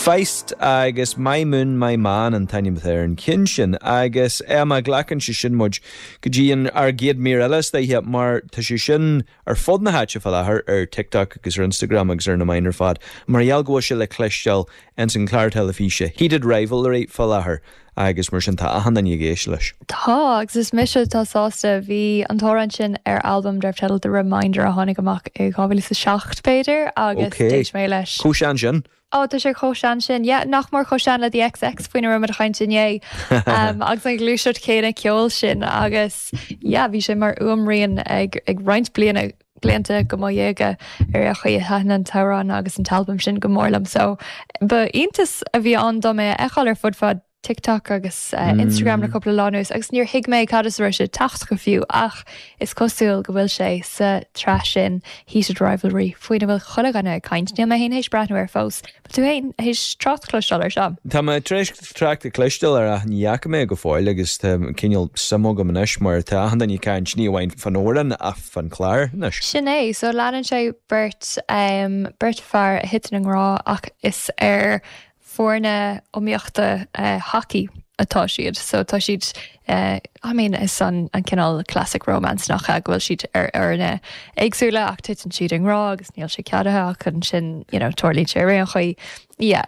Feist agus My Moon My Man an t-ainm atá ar an cheann sin agus Emma, glacann sé sin muid go dtí an ár gcéad mír eile istoíche mar tá sé sin ar fud na háite fá láthair ar TikTok agus ar Instagram agus ar na meáin ar fad mar gheall go bhfuil sé le cloisteáil ins an chlár teilifíse Heated Rivalry fá láthair agus mar sin tá achan duine ag éisteacht leis. Tá, agus is mise atá sásta. Bhí an t-amhrán sin ar albam darbh teideal The Reminder a tháinig amach i 2007, b'fhéidir, agus d'éist mé leis. Chomh sean sin? Ó, tá sé chomh sean sin. Yeah, nach mór chomh sean le The xx faoina raibh muid ag caint inné. Agus an ghluaiseacht chéanna ceoil sin agus yeah, bhí sé mar fhuaimrian ag ag roinnt bliana blianta de mo dhéaga ar aon chaoi. Thaitin an t-amhrán agus an t-albam sin go mór liom so ba iontas a bhí ann dom é a fheiceáil ar fud fad TikTok agus Instagram le cúpla lá anuas agus níor thuig mé cad as a raibh sé ag teacht go fiú ach is cosúil go bhfuil sé sa tsraith sin Heated Rivalry faoina bhfuil chuile dhuine ag caint. Níl mé féin théis breathnú air fós. Bhfuil tú féin théis trácht a chloisteáil air seo? Tá mé tar éis trácht a chloisteáil air ach ní fhaca mé go fóill agus tá cineál suim agam anois mar tá achan duine ag caint ní amháin fán amhrán ach fán chlár anois. Sin é, so leanann sé beirt, beirt fear a thiteann i ngrá ach is ar foirne iomaíochta hacaí atá siad. So tá siad, I mean is an cineál classic romance nach ea, go bhfuil siad ar fhoirne éagsúla ach titeann siad i ngrá agus níl sé ceadaithe ach ansin you know tarlaíonn sé ar aon chaoi. Yeah.